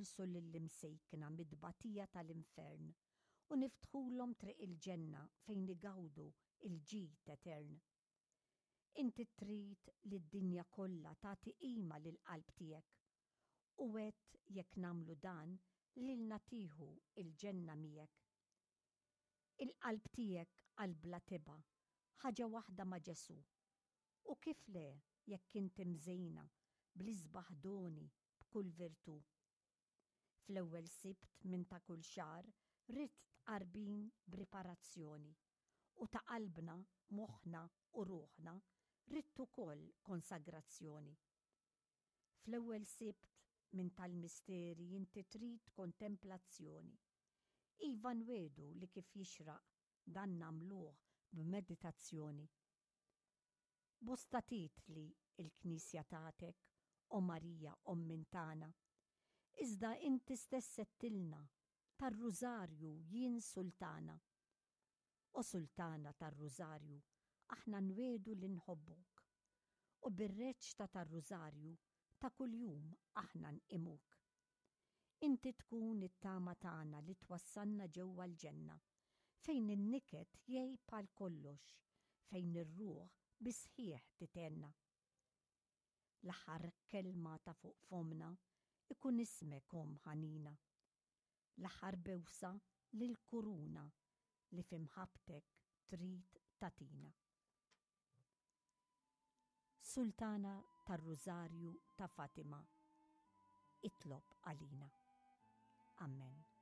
Neħilsu lill-imsejkna mit-tbatija tal-infern u niftħulhom triq il-ġenna fejn igawdu l-ġid etern. Inti trid li d-dinja kollha tagħti qima lill-qalb tiegħek u għedt jekk nagħmlu dan lilna tieħu l-ġenna miegħek. Il-qalb tiegħek qalb bla tebgħa, ħaġa waħda ma' Ġesù. U kif le jekk inti mżejna bl-isbaħ doni b'kull virtù. Fl-ewwel Sibt minn ta' kull xahar ridt tqarbin b'riparazzjoni u ta' qalbna, moħħna u ruħna ridt ukoll konsagrazzjoni. Fl-ewwel Sibt minn tal-misteri inti trid kontemplazzjoni. Iva nwiegħdu li kif jixraq dan nagħmluh b'meditazzjoni. Bosta titli l-Knisja tatek, O Marija Omm minn tagħna. Iżda inti stess għedtilna, Tar-Rużarju jien Sultana. O Sultana tar-Rużarju, aħna nwiegħdu li nħobbuk. U bir-reċta tar-Rużarju ta' kuljum aħna nqimuk. Inti tkun it-tama tagħna li twassalna ġewwa l-ġenna, fejn in-niket jgħib għal kollox, fejn ir-ruħ bis-sħiħ tithenna. L-aħħar kelma ta' fuq fommna jkun ismek Omm ħanina. L-aħħar bewsa lill-kuruna li fi mħabbtek trid tagħtina. Sultana tar-Rużarju ta' Fatima, itlob għalina. Amen.